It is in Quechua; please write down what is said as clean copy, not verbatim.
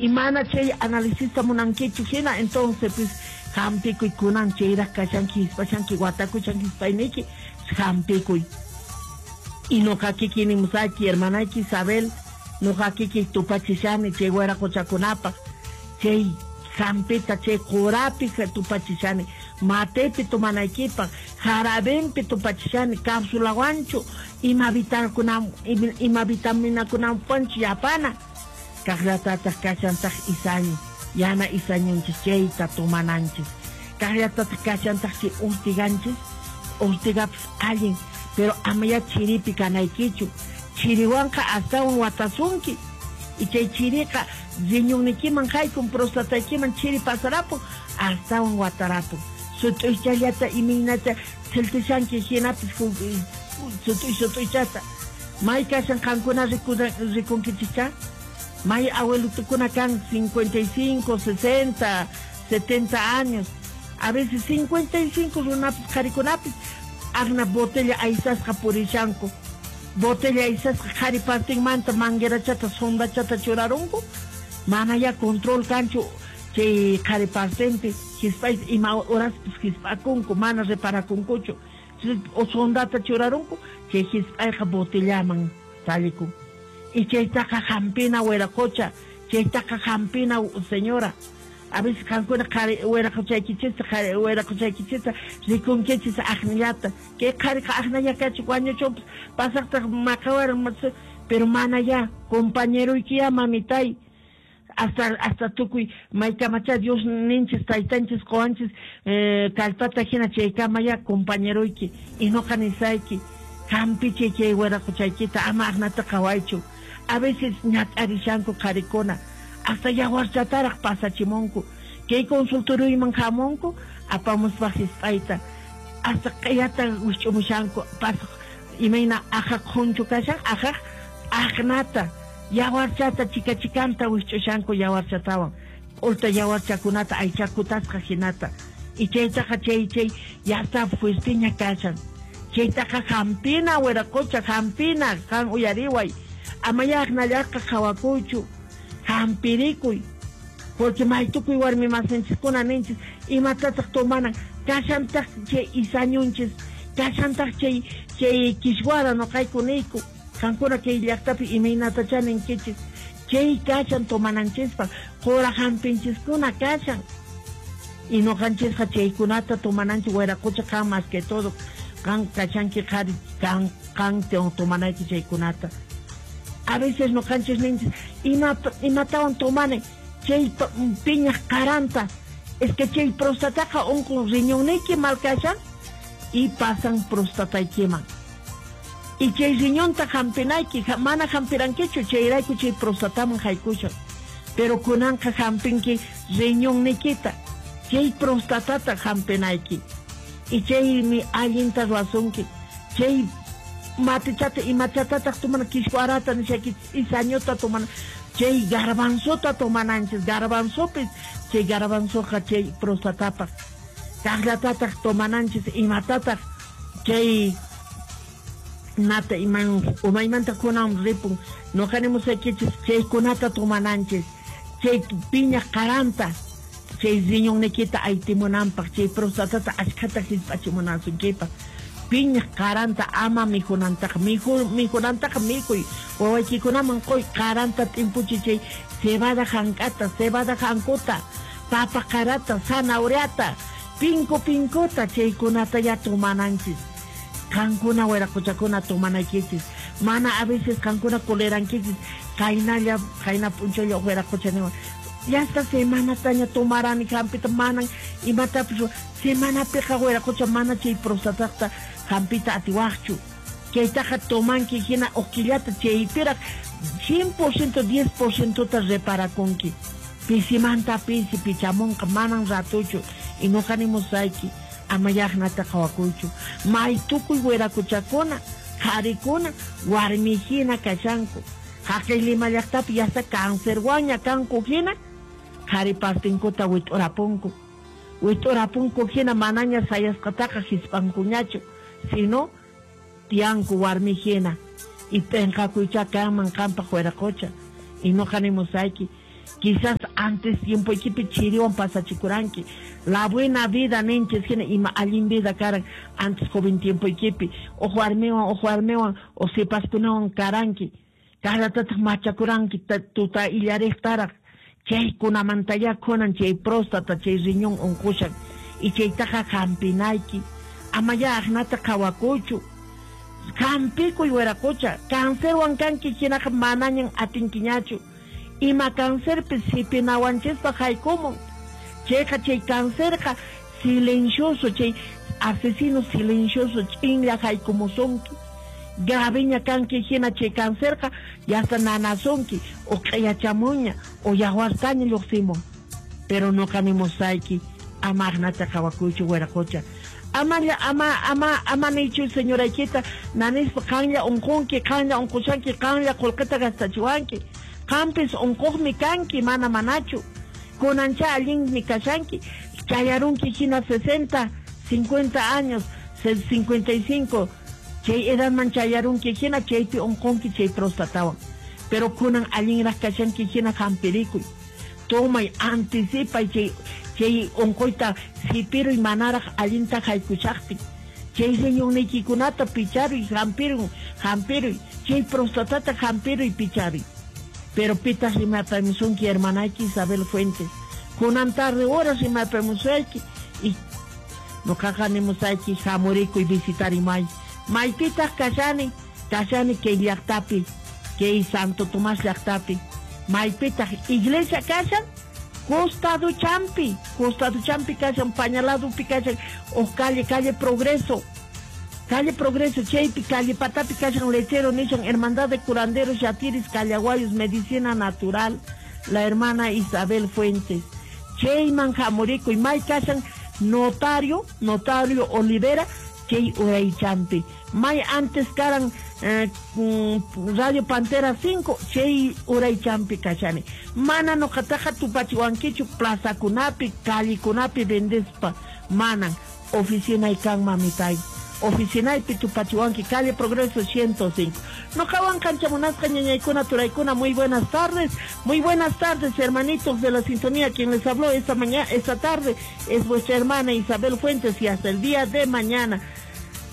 Y mana chay análisista munankichu hina, entonces pues hampikuy kunan chayraq kashanki, hispashanki, watakushanki hispayniki, hampikuy. Y noqa kiki nimusayki, hermanayki Isabel, noqa kiki tupachishani chay wiraqochakunapaq, chay hampita, chay qurapi tupachishani, matepi tomanaykipaq, jarabenpi tupachishani, cápsulawanchu, ima ima vitaminakunawanchu yapana. Kaqllatataq kashantaq isañu, yana isañunchis chayta tomananchis. Kaqllatataq kashantaq chay urtiganchis, urtigapas allin, pero amaya chiripi kanaykichu. Chiriwanqa astawan watasunki. Y chay chiriqa riñonnikiman haykun, prostataykiman chiri pasarapun, astawan watarapun. Sut'uychallata imaynata thiltishanki hinapis sut'uy sut'uychata. May kashan qankuna rikunkichikcha? May abuelitukuna kan 55, 60, 70 años. A veces 55 runapis qharikunapis aqna botella aysasqa purishanku. Botella aysasqa qhari partinmanta manguerachata sondachata churarunku. Mana ya control kanchu chay qhari partinpi hisp'ayta ima horaspis hisp'akunku, mana reparakunkuchu. O sondata churarunku chay hisp'ayqa botellaman tallikun. Y chaytaqa hampina wiraqocha, chaytaqa hampina señora. A veces qankuna wiraqochaykichista, wiraqochaykichista rikunkichis aqnallata. Kay qhariqa aqnalla kachun wañuchunpas pasaqtaq maqawaran, pero mana ya, compañeroyki ya mamitay. Hasta tukuy maykamacha Dios ninchis, taytanchis, qowanchis, kallpata hina chaykama ya compañeroyki. Y noqa nisayki, hampichay chay wiraqochaykita, ama aqnata qhawaychu. A veces ñak'arishanku qharikuna, hasta yawarchataraq pasachimunku. Kay consultorioyman hamunku, apamuspa hisp'ayta, hasta q'iyata wisch'umushanku, pasaq imayna aqhaq qhunchu kashan, aqhaq aqnata, yawarchata chika chikanta wisch'ushanku yawarchatawan, k'ulta yawarchakunata aychakutasqa hinata. Y chaytaqa chay chay yasta fuerteña kashan. Chaytaqa hampina wiraqocha, hampina, qan uyariway. Amaya aqnallaqa qhawakuychu, hampirikuy. Porque maytukuy warmi masinchiskuna ninchis, imatataq tomanan, kashantaq chay isañunchis, kashantaq chay chay kishwara noqayku niyku, qankuna kay llaqtapi imaynatacha ninkichis, chay kashan tomananchispaq, qura hampinchiskuna kashan. Y noqanchisqa chaykunata tomananchis wiraqocha qan más que todo, qan kashanki qhari, qan tomanayki chaykunata. A veces noqanchis ninchis, imatawan tomani, chay piñaq qaranta, es que chay prostataqa unqun riñonniyki mal kashan, y pasan prostataykiman. Y chay riñonta hampinayki, mana hampirankichu, chayrayku chay prostataman haykushan. Pero kunanqa hampinki riñonniykita, chay prostatata hampinayki. Y chaymi allinta ruwasunki, chay matichata imachatataq tomana, kishwarata nishayki, isañuta tomana, chay garbanzota tomananchis, garbanzopis, chay garbanzoqa chay prostatapaq. Kaqllatataq tomananchis, imatataq chay nata iman umaymanta kunan ripun, noqa nimusaykichis chaykunata tomananchis, chay piñaq qaranta, chay riñonniykita aytimunanpaq, chay prostatata ashkhata hisp'achimunasunkipaq. Piñaq qaranta ama mikhunantaqa, mikhunantaqa mikhuy, wawaykikunaman quy qaranta t'impuchi chay cebada hank'ata, cebada hankuta, papa qarata, zanahoriata, pinku pinkuta, chaykunata ya tomananchis. Qankuna wiraqochakuna tomanaykichis. Mana a veces qankuna colerankichis, qaynalla, qayna p'unchaylla wiraqocha niwan. Ya esta semanataña tomarani hampita manan imatapis semanapiqa wiraqocha mana chay prostataqta hampita atiwaqchu. Chaytaqa tomanki hina uqkillata chaypiraq 100%, 10% ta reparakunki. Pisimanta pisi pichamunqa manan ratuchu. Y noqa nimusayki, ama llaqnata qhawakuychu. May tukuy wiraquchakuna, qharikuna, warmi hina kashanku. Haqay Lima llaqtapi yasta cancerwanña kanku hina, qhari partinkuta wit'urapunku. Wit'urapunku hina manaña sayasqataqa hisp'ankuñachu, sino tiyanku warmi hina. Y p'inqakuycha kanman qampaq wiraqocha. Y noqa nimusayki, Quizás antes tiempoykipi chiriwan pasachikuranki. La buena vida ninchis hina ima allin vida karan antes joven tiempoykipi. Uj warmiwan o sipaskunawan karanki. Kaqllatataq machakuranki tuta illariqtaraq. Chaykunamantaya kunan chay próstata, chay riñón unqushan. Y chaytaqa hampinayki. Amaya aqnata qhawakuychu. Hampikuy wiraqucha. Cancerwan kanki hinaqa manañan atinkiñachu. Ima cancerpis sipinawanchispa haykumun. Chayqa chay cancerqa silencioso, chay asesino silencioso ch'inlla haykumusunki. Graveña kanki hina chay cancerqa yasta nanasunki o q'iyachamuña o yawartaña lluqsimun. Pero nuqa nimusayki ama aqnata qhawakuychu wiraqucha. Ama niychu señoraykita nanispa qanlla unqunki, qanlla unqushanki, qanlla qullqita gastachiwanki. Qampis unquqmi kanki, mana manachu. Kunancha allinmi kashanki. Chayarunki hina 60, 50 años, 55. Chay edadman chayarunki hina chaypi unqunki chay prostatawan. Pero kunan allinraq kashanki hina hampirikuy. Tomay, anticipay chay unquyta sipiruy manaraq allinta haykushaqtin. Chay riñonniykikunata picharuy, hampiruy, hampiruy. Chay prostatata hampiruy, picharuy. Pero pitaq rimapamusunki hermanayki Isabel Fuentes. Kunan tarde horas rimapamusayki y nuqaqa nimusayki hamurikuy visitarimay. Maypitaq kashani, kashani kay llaqtapi, kay Santo Tomás llaqtapi. Maypitaq iglesia kashan, costado champi kashan, pañaladupi kashan, o calle Progreso. Calle Progreso, chaypi, calle Patapi kashan, lechero nishan, Hermandad de Curanderos, Yatiris, Callaguayos, Medicina Natural, la hermana Isabel Fuentes. Chayman hamurikuy, may kashan, notario Olivera, chay uraychampi. May antes karan Radio Pantera 5, chay uraychampi kashani. Mana nuqataqa tupachiwankichu plazakunapi, callikunapi vendespa. Manan, oficinay kan mamitay. Oficinaypi tupachiwanki, calle Progreso 105. Nuqawan kanchamunasqa ñañaykuna turaykuna, muy buenas tardes. Muy buenas tardes, hermanitos de la sintonía. Quien les habló esta mañana, esta tarde, es vuestra hermana Isabel Fuentes, y hasta el día de mañana.